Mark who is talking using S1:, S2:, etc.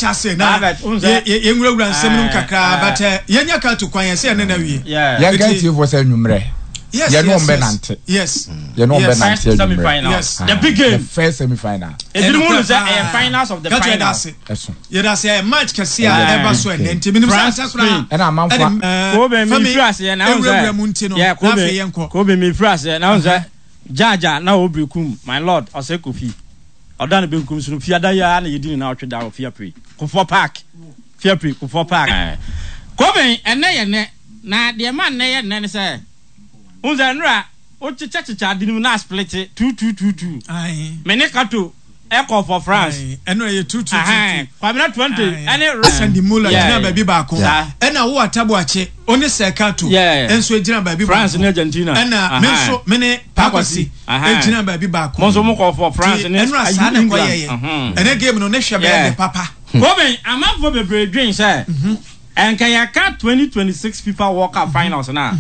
S1: Yɛbɛkyɛ ase na yɛnwurawura nsɛm no mu kakra, but yɛnya ka to kwan yɛ sɛ yɛne no awie.
S2: Yɛnka atiefoɔ sɛ anwummerɛ yɛne wɔn bɛnante. Yɛne wɔn bɛnante anwummerɛ.
S1: Yes.
S3: The big game.
S2: The first semi final.
S3: Ebinom hu no sɛ ɛyɛ finals of the finals.
S2: Ɛso.
S1: Yɛda ase, ɛyɛ match kɛse a ɛba so ɛnɛ nti menim sɛ asɛ koraa.
S2: Ɛna amanfoɔ.
S3: Kobe mi firi aseɛ na ahun sɛ.
S1: Ewurawura mu nti no na afei yɛnkɔ.
S3: Kobe mi firi aseɛ na ahun sɛ Jaja na obiri kum my lord ɔsɛ Kofi. Ɔda ne benkum so no, Fiada yi ara na yɛdi ne naawɔtwe da wɔ Fiapre, Kufuor Park. Fiapre, Kufuor Park. Kobe, ɛnnɛ yɛ nnɛ, na deɛ ɛma nnɛ yɛ nnɛ ne sɛ, wohu sɛ nnora wokyekyɛkyekyɛ ade no mu na asplete two two two two. Me ne Kato ɛkɔ for France.
S1: Ɛno ɛyɛ two two two two.
S3: Kwabena 20 ɛne.
S1: Sandy Muller gyina baabi baako. Ɛna wo Ataboakye, wo ne Sir Kato nso gyina baabi baako.
S3: France ne Argentina.
S1: Ɛna me nso me ne Pakwasi gyina baabi baako.
S3: Mo nso mo kɔ for France ne
S1: England. Ɛnura saa na ɛkɔ yɛ yɛ. Ɛnɛ game no ne hwɛ bɛyɛ dɛ papa.
S3: Kobe, amanfoɔ bebree dwen sɛ ɛnka yɛka 2026 FIFA World Cup finals no a.